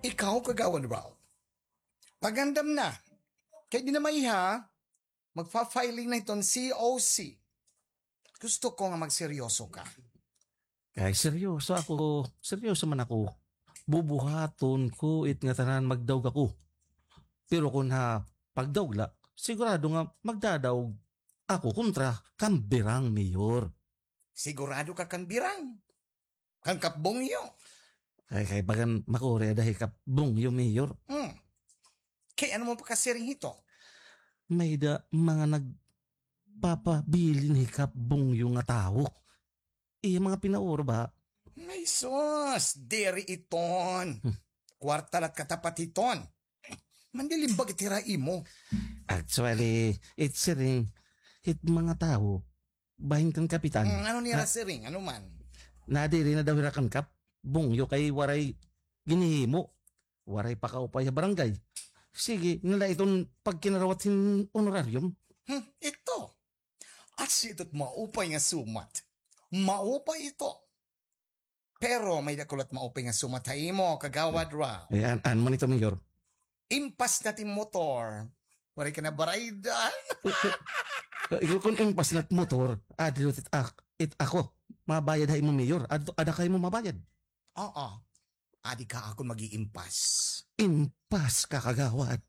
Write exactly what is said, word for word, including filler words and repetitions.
Ikaw, Kagawad Ralph, pagandam na. Kay di na maiha, magpa-filing na hiton C O C. Gusto ko nga magseryoso ka. Ay, seryoso ako. Seryoso man ako. Bubuhaton ko it ngatanan, magdaog ako. Pero kon ha pagdaog la, sigurado nga magdadaog ako kontra kan Birang, Mayor. Sigurado ka kan Birang? Kan Kap Bungyo? Ay, kay bagan makuri ada hi Kap Bungyo, Mayor. Hmm. Kay ano mo pakasiring hito? May-ada mga nagpapabilin hi Kap Bungyo nga tawo. Iya mga pinauro ba? Ay, sus, diri iton. Hmm. Kwarta la it katapat hiton. Mandilimbag it hira ha imo. Actually, it siring hit mga tawo bahin kan kapitan. Hmm, ano nira siring? Ano man? Nadiri na daw hira kan Kap Bungyo kay waray ginhihimo. Waray pakaupay ha barangay. Sige, nala iton pagkinarawat hin honorarium. Hmm, ito. Asya ito it maupay nga sumat. Maupay ito. Pero may-ada ko la it maupay nga sumat ha imo, Kagawad Ralph. Eh, an-, ano man ito, Mayor? Impas na it im motor. Waray ka na baraydan. Eh, kon impas na it motor, adi la it ak-, it ako. Mabayad ha imo, Mayor. Ad-, ada kay mo mabayad. Oo. Adi ka akon mag-iimpas. Impas ka, Kagawad.